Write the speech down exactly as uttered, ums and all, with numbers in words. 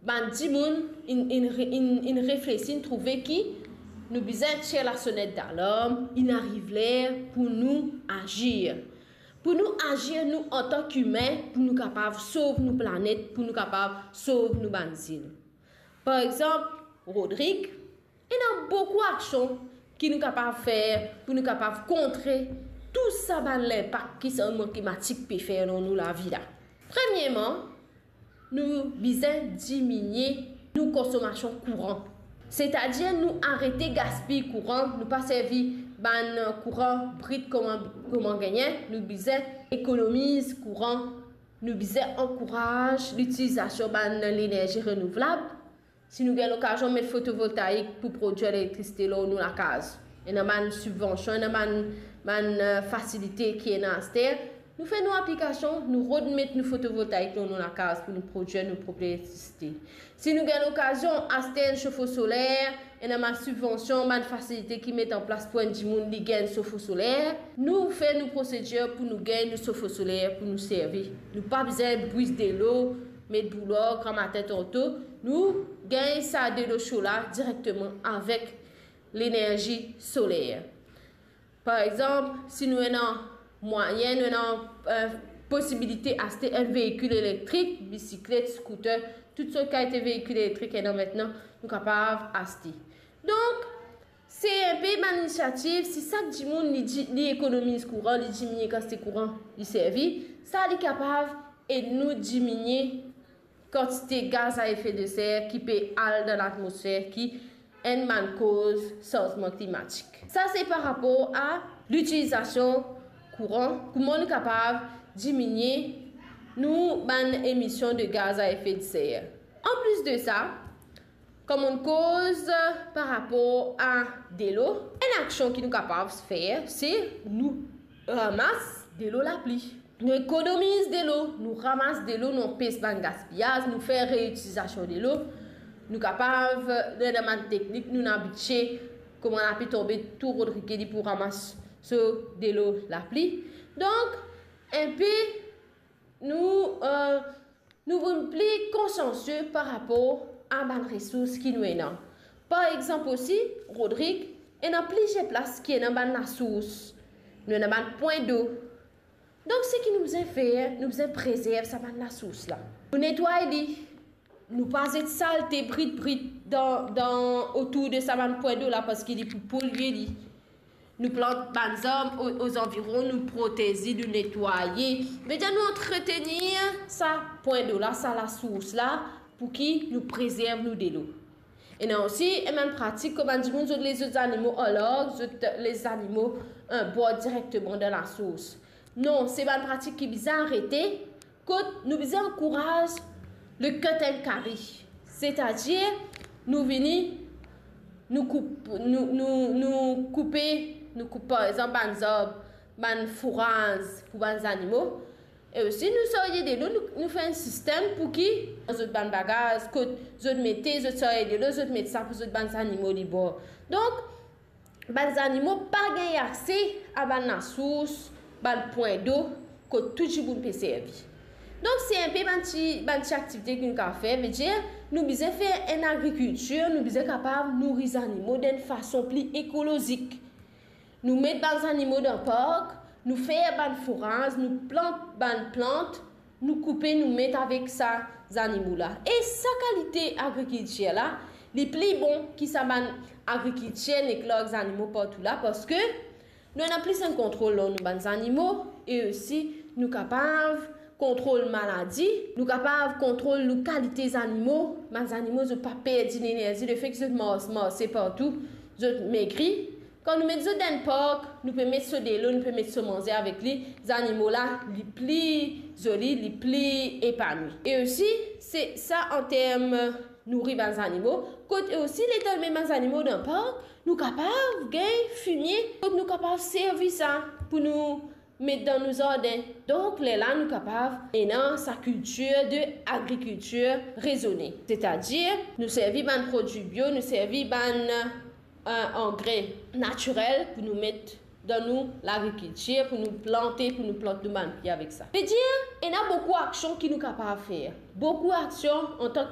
Bann dimoun inn, inn re-, inn, inn reflesi, inn trouve ki nou bizin tir lasonet dalarm, inn ariv ler pou nou azir. Pou nou azir, nou antan ki imin, pou nou kapav sov nou planet, pou nou kapav sov nou bann zil. Par exanp, Rodrig, ena boukou aksion ki nou kapav fer pou nou kapav kontre tou sa bann linpak ki sanzman klimatik pe fer lor nou lavi la. Premierman, nou bizin diminie nou konsomasion kouran. Setadir nou arete gaspiy kouran, nou pa servi bann kouran brit kouma, kouma gagne, nou bizin ekonomiz kouran, nou bizin ankouraz litilizasion bann lenerzi renouvlab. Si nou gagn lokazion met fotovoltaik pou prodwir elektrisite lor nou lakaz, ena bann sibvansion, ena bann, bann, eh, fasilite ki ena aster. Nou fer nou aplikasion, nou rod met nou fotovoltaik lor nou lakaz pou nou prodwir nou prop elektrisite. Si nou gagn lokazion aster enn sofo soler, ena bann sibvansion, bann fasilite ki met an plas pou enn dimoun li gagn sofo soler. Nou fer nou prosedir pou nou gagn nou sofo soler pou nou servi. Nou pa bizin bwi delo, met boular gramatin tanto. Nou gagn sa delo so la direkteman avek lenerzi soler. Par exanp, si nou ena mwayin, nou ena, eh, posibilite aste enn veikil elektrik, bisiklet, scooter, tou sort kalite veikil elektrik ena aster, nou kapav aste. Donk, se inpe bann inisiativ, si sak dimoun li di-, li ekonomiz kouran, li diminie kantite kouran li servi, sa li kapav ed nou diminie kantite gaz a efe de ser ki pe al dan latmosfer, ki enn bann koz sanzman klimatik. Sa se par rapor a litilizasion kouran, kouma nou kapav diminie nou bann emision de gaz a efe de ser. Anplis de sa, kouma nou koz par rapor a delo, enn aksion ki nou kapav fer, se nou ramas delo lapli. Nou ekonomiz delo, nou ramas delo, nou anpes bann gaspiyaz, nou fer reitilizasion delo. Nou kapav, nou ena bann teknik, nou inn abitie kouma lapli tonbe, tou Rodrig li pou ramas so delo lapli. Donk, inpe nou, eh, nou vinn pli konsiansie par rapor a bann resours ki nou ena. Par exanp osi, Rodrig, ena plizier plas ki ena bann lasours. Nou ena bann pwin dlo. Donk, seki nou bizin fer, nou bizin prezerv sa bann lasours la. Nou netway li, nou pa zet salte brit brit dan, dan, otour de sa bann pwin dlo la, parski li pou polie li. Nou plant bann zarb o, ozanviron, nou protez li, nou netwaye. Vedir nou antretenir sa pwin dlo la, sa lasours la, pou ki nou prezerv nou delo. Ena osi enn bann pratik, kouma dimoun zot les zot zanimo alarg, zot les zanimo, eh, bwar direkteman dan lasours. Non, se bann pratik ki bizin arete, kot nou bizin ankouraz le cut and carry. Setadir, nou vini, nou koup, nou, nou, nou koupe, nou koup, par exanp, bann zarb, bann fouraz pou bann zanimo. E osi, nou sarye delo, nou, nou fer enn sistem pou ki zot bann bagaz, kot zot mete, zot sarye delo, zot met sa pou zot bann zanimo li bwar. Donk, bann zanimo pa gagn akse a bann lasours, bann pwin dlo, kot tou dimoun pe servi. Donk, se inpe bann ti, bann ti aktivite ki nou kapav fer, vedir, nou bizin fer enn agrikiltir, nou bizin kapav nouri zanimo dan enn fason pli ekolozik. Nou met bann zanimo dan park, nou fer bann fouraz, nou plant bann plant, nou koupe, nou met avek sa zanimo la. E sa kalite agrikiltir la, li pli bon ki sa bann agrikiltir nek larg zanimo partou la, parski nou ena plis enn kontrol lor nou bann zanimo, e osi nou kapav kontrol maladi, nou kapav kontrol nou kalite zanimo, bann zanimo zot pa perdi lenerzi, lefek zot mars, marse partou, zot megri. Kan nou met zot dan enn park, nou pe met so delo, nou pe met so manze avek li, zanimo la, li pli zoli, li pli epanwi. E osi, se sa an term nouri bann zanimo, kot e osi letan nou met bann zanimo dan park, nou kapav gagn fimie, kot nou kapav servi sa pou nou met dan nou zardin. Donk, lerla nou kapav ena sa kiltir de agrikiltir rezone. Setadir, nou servi bann prodwi bio, nou servi bann, eh, angre natirel pou nou met dan nou lagrikiltir, pou nou plante, pou nou plant nou bann pie avek sa. Vedir, ena boukou aksion ki nou kapav fer. Boukou aksion antan ki